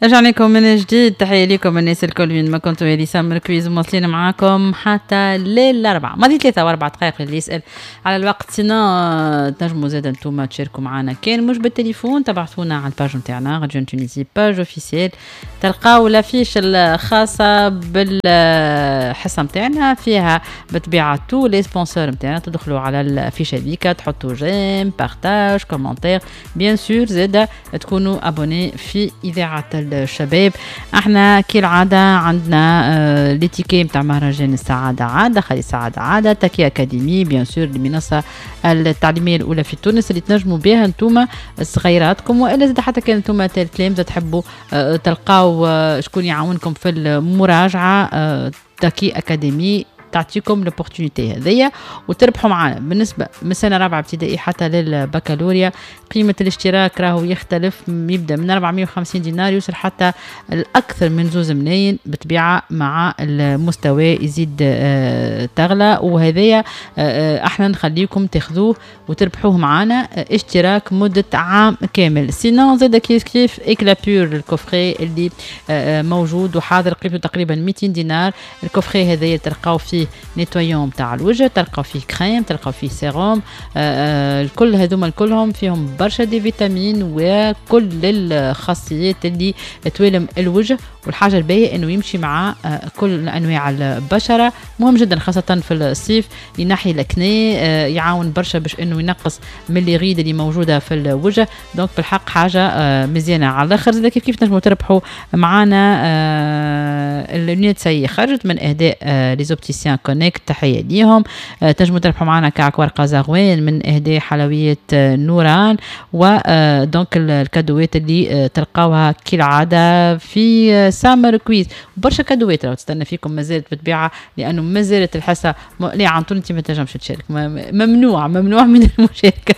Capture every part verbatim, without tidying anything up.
رجعنا لكم من جديد، تحية لكم الناس الكل وين ما كنتوا. هذه Summer Quiz مواصلين معاكم حتى للأربعة، ماضي ثلاثة وأربع دقائق اللي يسأل على الوقت. sinon تنجموا زاد انتوما تشاركوا معنا، كان مش بالتليفون تبعثونا على ال page نتاعنا Radio Tunisie page officielle، تلقاو l'affiche الخاصة بالحصة نتاعنا فيها بالطبيعة tous les sponsors نتاعنا. تدخلوا على l'affiche هذيك تحطوا j'aime، partage، commentaire، bien sûr زاد تكونوا abonnés في إذاعة الشباب. احنا كالعادة عندنا آه les tickets نتاع مهرجان السعادة عادة، خلي السعادة عادة، تاكي أكاديمي bien sûr المنصة التعليمية الأولى في تونس اللي تنجموا بها انتوما صغيراتكم، والا زاد حتى كان انتوما تلامذة تحبوا آه تلقاو آه شكون يعاونكم في المراجعة. آه تاكي أكاديمي تعطيكم l'opportunité هذيا وتربحوا معنا. بالنسبة من سنة رابعه ابتدائي حتى للبكالوريا قيمة الاشتراك راهو يختلف، يبدا من أربعمية وخمسين دينار يوصل حتى الاكثر من زوز ملايين، بالطبيعة مع المستوى يزيد آه تغلى. وهذايا آه احنا نخليكم تاخذوه وتربحوه معنا، آه اشتراك مده عام كامل. sinon زاد كيف كيف Éclat Pur ال coffret اللي آه موجود وحاضر قيمته تقريبا ميتين دينار. ال coffret هذايا تلقاو فيه nettoyant تاع الوجه، تلقاو فيه كريم، تلقاو فيه سيروم، آه الكل هذوما كلهم فيهم برشا des vitamines وكل الخاصيات اللي توالم الوجه. والحاجة الباهيه انه يمشي مع آه كل انواع البشرة، مهم جدا خاصة في الصيف، ينحي l'acné، آه يعاون برشا باش انه ينقص من les rides اللي موجودة في الوجه. donc بالحق حاجة آه مزيانه على الاخر. زاد كيف كيف تنجموا تربحوا معانا آه ال lunettes سي خرجت من اهداء آه les opticiens Connect، تحية ليهم. آه تنجموا تربحوا معنا كعك ورقة زغوان من اهداء حلويات آه نوران، و donc الكادوات اللي آه تلقاوها كالعادة في آه Summer Quiz. برشا كادوات راهو تستنى فيكم مازالت بالطبيعة، لانه مازالت الحصة م... لا عنطون انت ما تنجمش تشارك، ممنوع ممنوع من المشاركة.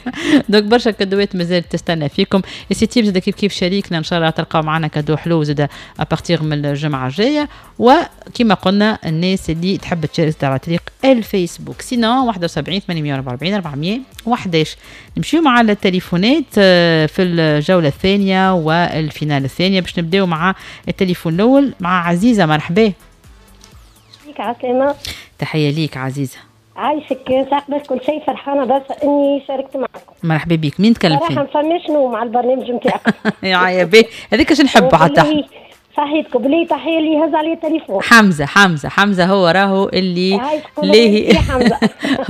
donc برشا كادوات مازالت تستنى فيكم. السيتيب زاد كيف كيف شريكنا، ان شاء الله تلقاو معنا cadeau حلو زاد à partir من الجمعة الجاية. وكما قلنا الناس اللي تحب تشارك على طريق الفيسبوك، sinon واحد وسبعين ثمانمية وأربعة وأربعين أربعمية وحداش. نمشيو مع التليفونات في الجولة الثانية وال finale الثانية، باش نبداو مع التليفون الاول مع عزيزه. مرحبا بيك عسلامة. تحية ليك عزيزه. عايشك، ساعة قبل كل شيء فرحانة بس اني شاركت معكم. مرحبا بك. مين تكلم فيه؟ صراحة ما فماش نوم على البرنامج نتاعكم. يا بي هذيك اش نحبوا حتى صحيتكم بلي تحية اللي هز عليه التليفون. حمزة حمزة حمزة هو راهو اللي لاهي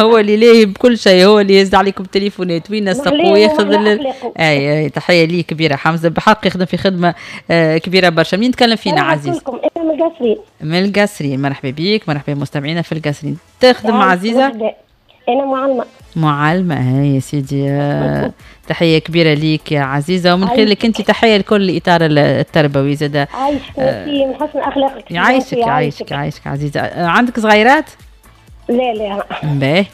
هو اللي لاهي بكل شيء، هو اللي يهز عليكم التليفونات وينسق وياخذ ال... اي اي تحية ليه كبيرة حمزة، بحق يخدم في خدمة آه كبيرة برشا. مين تكلم فينا عزيز؟ انا من القصرين. من القصرين، مرحبا بيك، مرحبا بمستمعينا في القصرين. تخدم عزيزه؟ انا معلمه. معلمه، هاي يا سيدي، آه تحية كبيرة ليك يا عزيزه، ومن خلالك انت تحية لكل الاطار التربوي زاد. عايشك ميرسي من حسن اخلاقك. يعيشك يعيشك يعيشك عزيزه. آه عندك صغيرات؟ لا لا. باهي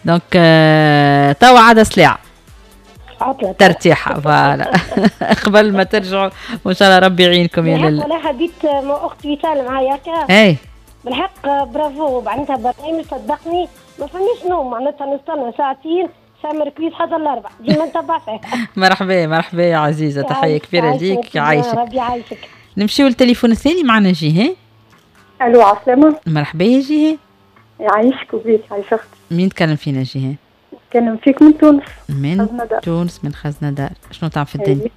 donc آه توا عاد سلاع عطلة ترتيحه voilà قبل ما ترجعوا، وان شاء الله ربي يعينكم يا لله. انا حبيت مع اختي وسال معايا هكا. اي بالحق برافو، معناتها برنامج صدقني ما فماش نوم، معناتها نستنى ساعتين Summer Quiz حتى الاربع ديما نتبع فيه. مرحبا مرحبا يا عزيزه، تحية كبيرة ليك. يعيشك ربي يعيشك. نمشيو للتليفون الثاني، معنا جيهان. الو عسلامة. مرحبا يا جيهان. يعيشك وبيك، عايش اختي. مين تكلم فينا جيهان؟ نتكلم فيك من تونس. من تونس، من خزنة دار. شنو تعمل في الدنيا؟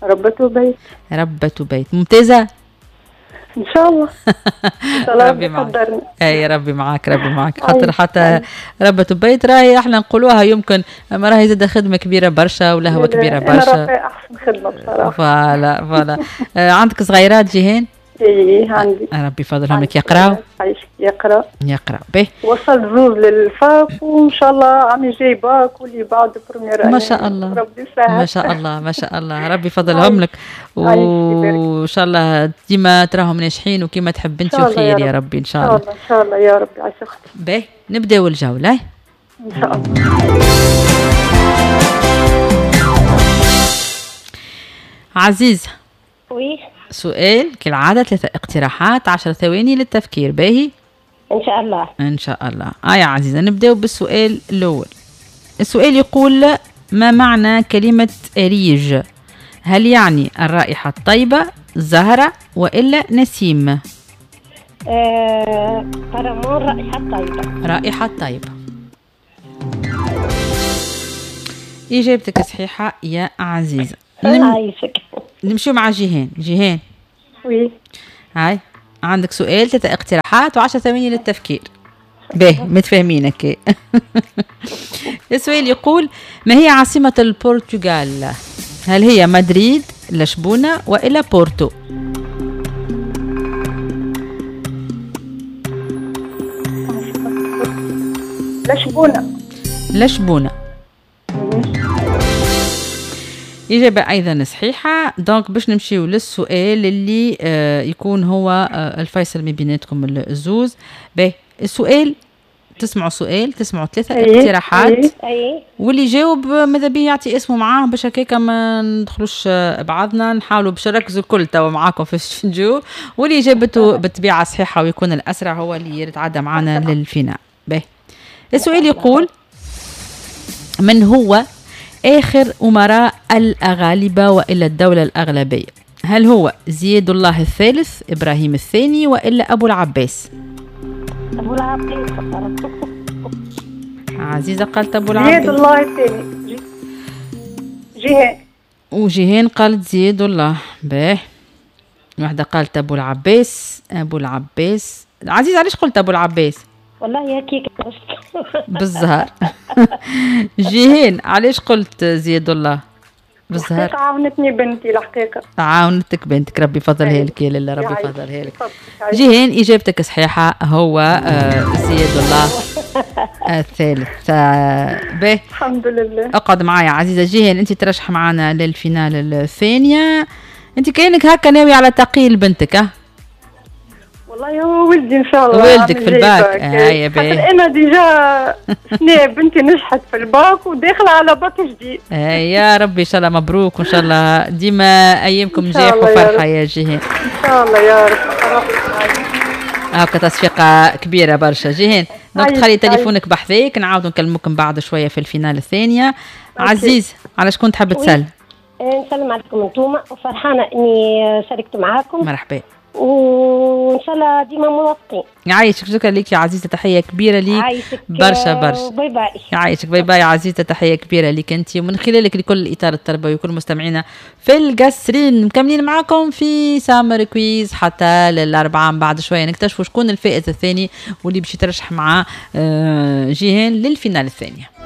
ربة بيت. ربة بيت، ممتازة؟ ان شاء الله. ان شاء الله ربي معاك. اي ربي معاك ربي معاك، خاطر حتى ربة بيت راهي احنا نقولوها يمكن، اما راهي زاد خدمة كبيرة برشا ولهوه كبيرة برشا. انا راهي احسن خدمة بصراحة. voilà voilà. آه عندك صغيرات جيهان؟ اي عندي. ربي يفضلهم لك. يقراو؟ يقرا يقرا. باهي. وصل زوز لل fac وان شاء الله عام جاي باك واللي بعد première. ما شاء الله ربي يسهل. ما شاء الله ما شاء الله، ربي يفضلهم لك وان شاء الله ديما تراهم ناجحين وكيما تحب انت وخير يا ربي ان شاء الله. ان شاء الله يا ربي. عايش اختي. باهي نبداو الجولة ان شاء الله. عزيزه. oui. سؤال كالعادة ثلاثة اقتراحات، عشر ثواني للتفكير. باهي؟ إن شاء الله. إن شاء الله. آه يا عزيزة نبدأ بالسؤال الأول. السؤال يقول ما معنى كلمة أريج؟ هل يعني الرائحة الطيبة، زهرة، وإلا نسيم؟ آه، فرمون رائحة طيبة. رائحة طيبة. إجابتك صحيحة يا عزيزة. نم... عايشك. نمشيو مع جيهان. جيهان oui. هاي عندك سؤال، ثلاثة اقتراحات وعشرة ثواني للتفكير. باهي متفاهمين هكا. السؤال يقول ما هي عاصمة البرتغال؟ هل هي مدريد، لشبونة، وإلا بورتو؟ لشبونة. لشبونة إجابة أيضا صحيحة. donc باش نمشيو للسؤال اللي آه يكون هو آه الفيصل ما بيناتكم الزوز. باهي السؤال، تسمعوا سؤال، تسمعوا ثلاثة أي. اقتراحات، أي. اي واللي يجاوب ماذا بيه يعطي اسمه معاه باش هكاكا ما ندخلوش آه، بعضنا، نحاولوا باش نركزوا الكل توا معاكم في الاستوديو، واللي جابته بالطبيعة صحيحة ويكون الأسرع هو اللي يتعدى معنا لل finale. باهي السؤال يقول من هو آخر أمراء الأغالبة وإلا الدولة الأغلبية؟ هل هو زياد الله الثالث، إبراهيم الثاني، وإلا أبو العباس؟ ابو العباس. عزيزة قالت أبو زياد العباس، الله الثاني. جي- جيهان. وجيهان قالت زياد الله. باه واحدة قالت أبو العباس. أبو العباس. عزيزة علاش قلت أبو العباس؟ والله هكيك. بالزهر. جيهان علاش قلت زياد الله؟ بالزهر. الحقيقة عاونتني بنتي الحقيقة. عاونتك بنتك، ربي يفضلها أي. لك يا لاله، ربي يعيشك. يفضلها لك. تفضل. يعيشك. جيهان إجابتك صحيحة، هو آه، زياد الله الثالث. آه، باهي الحمد لله. اقعد معايا عزيزة جيهان، انت ترشح معنا لل finale الثانية. انت كأنك هكا ناوي على تقيل بنتك اه؟ والله هو ولدي ان شاء الله. ولدك عامل في الباك. جاي باك. آه، يا باهي. خاطر انا déjà سنة بنتي نجحت في الباك وداخله على باك جديد. آه، يا ربي ان شاء الله مبروك، وان شاء الله ديما ايامكم إن شاء نجاح الله يا وفرحة رب. يا جيهان. ان شاء الله يا رب. هاكا تصفيقة كبيرة برشا جيهان. donc عايش- تخلي عايش. تليفونك بحذاك، نعاودوا نكلموكم بعد شوية في ال finale الثانية. عزيز على شكون تحب oui. تسأل؟ آه، نسلم عليكم انتوما، وفرحانه اني شاركت معاكم، مرحبا. وان شاء الله ديما موافقين. يعيشك، شكرا لك يا عزيزة، تحية كبيرة ليك عايشك. برشا آه، برشا. bye bye. يعيشك، bye bye عزيزة، تحية كبيرة لك أنت ومن خلالك لكل الإطار التربوي وكل مستمعينا في القصرين. مكملين معاكم في Summer Quiz حتى للأربعة، من بعد شوية نكتشفوا شكون الفائز الثاني واللي باش يترشح مع آه، جيهان لل finale الثانية.